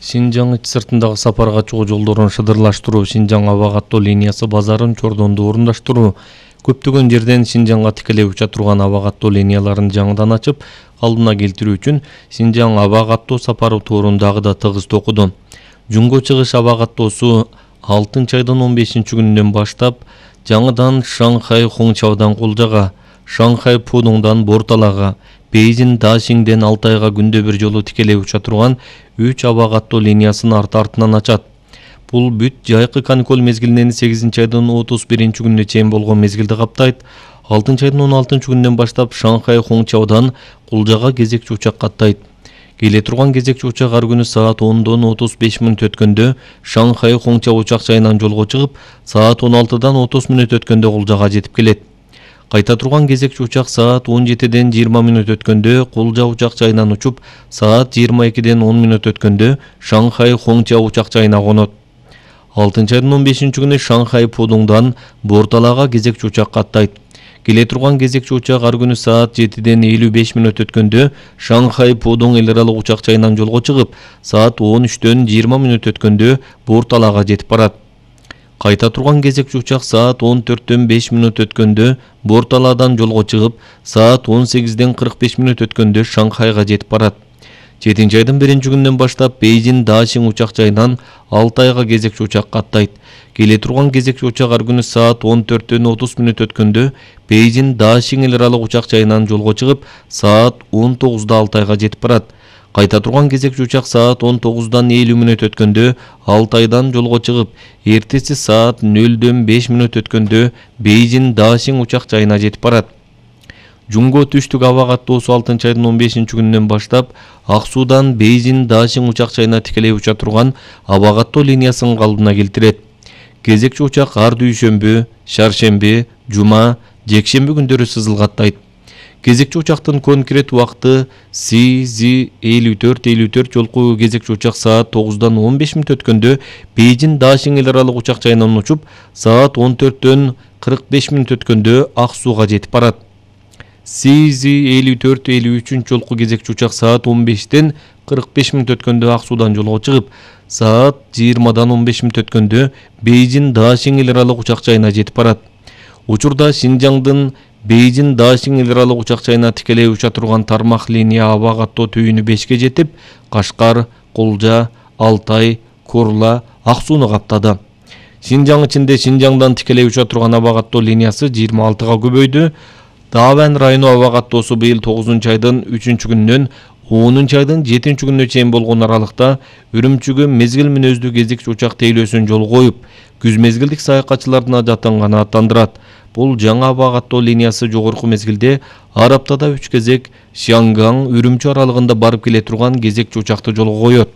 Шинжаң ич сыртындагы сапарга чыгуу жолдорун шыдырлаштыруу, Шинжаң аба каттоо линиясы базарын чордонду орундаштыруу, көптөгөн жерден Шинжаңга тикелей уча турган аба каттоо линияларын жаңыдан ачып, калыбына келтирүү үчүн Шинжаң аба каттоо сапары туурун дагы да тыгыз токуду. Жунго чыгыш аба каттоосу 6 айдын 15-күнүнөн баштап жаңыдан Шанхай Хоңчаодан Кулжага, Шанхай Пудуңдан Борталага, Бейжин Дашиңден Алтайга күндө бир жолу тикелей уча турган 3 аба каттоо линиясын арты-артынан ачат. Бул бүт жайкы каникул мезгилинен 8 айдын 31-күнүнө чейин болгон мезгилди каптайт. 6 айдын 16-күнүнөн баштап Шанхай Хоңчаодан Кулжага кезекчи учак каттайт. Келе турган кезекчи учак ар күнү саат 10дон 35 мүнөт өткөндө Шанхай Хоңча учак жайынан жолго чыгып, саат 16дан 30 мүнөт өткөндө Кулжага жетип келет. Кайта турган кезекчи учак саат 17ден 20 мүнөт өткөндө Кулжа учак жайынан учуп, саат 22ден 10 мүнөт өткөндө Шанхай Хоңча учак жайына конот. 6 айдын 15-күнү Шанхай Пудуңдан Борталага кезекчи учак каттайт. Келе турган кезекчи учак ар күнү саат 7ден 55 мүнөт өткөндө Шанхай Пудуң эл аралык учак жайынан жолго чыгып, саат 13дөн 20 мүнөт өткөндө Борталага жетип барат. Кайта турган кезекчи учак саат 14дөн 5 мүнөт өткөндө Борталадан жолго чыгып, саат 18ден 45 мүнөт өткөндө Шанхайга жетип барат. 7 айдын 1-күнүнөн баштап Бейжин Дашиң учак жайынан Алтайга кезекчи учак каттайт. Келе турган кезекчи учак ар күнү саат 14дөн 30 мүнөт өткөндө Бейжин Дашиң эл аралык учак жайынан жолго чыгып, саат 19да Алтайга жетип барат. Кайта турган кезекчи учак саат 19дан 50 мүнөт өткөндө Алтайдан жолго чыгып, эртеси саат 0дөн 5 мүнөт өткөндө Бейжин Дашиң учак жайына жетип барат. Жунго түштүк аба каттоосу 6 айдын 15-күнүнөн баштап Ак Суудан Бейжин Дашиң учак жайына тикелей уча турган аба каттоо линиясын калыбына келтирет. Кезекчи учак ар дүйшөмбү, шаршемби, жума, жекшемби күндөрү сызылгаттайт. Кезекчи учактын конкрет убакты CZ5454 жолку кезекчи учак саат 9дан 15 мүнөт өткөндө Бейжин Дашиң эл аралык учак жайынан учуп, саат 14дөн 45 мүнөт өткөндө Ак Сууга жетип барат. CZ5453 жолку кезекчи учак саат 15ден 45 мүнөт өткөндө Ак Суудан жолго чыгып, саат 20дан 15 мүнөт өткөндө Бейжин Дашиң эл аралык учак жайына жетип барат. Учурда Шинжаңдын Бейжин Дашиң эл аралык учак жайына тикелей уча турган тармак линия аба каттоо түйүнү 5ке жетип, Кашкар, Кулжа, Алтай, Курла, Ак Сууну каптады. Шинжаң ичинде Шинжаңдан тикелей уча турган аба каттоо линиясы 26га көбөйдү. Даван району аба каттоосу быйыл 9 айдын 3-күнүнөн 10 айдын 7-күнүнө чейин болгон аралыкта Үрүмчүгө мезгил мүнөздүү кезекчи учак тейлөөсүн жол коюп, күз мезгилдик саякатчылардын ажаттанганы аттандырат. Бул жаңы аба каттоо линиясы жогорку мезгилде ар аптада 3 кезек Шианган Үрүмчү аралыгында барып келе турган кезекчи учакты жолго коет.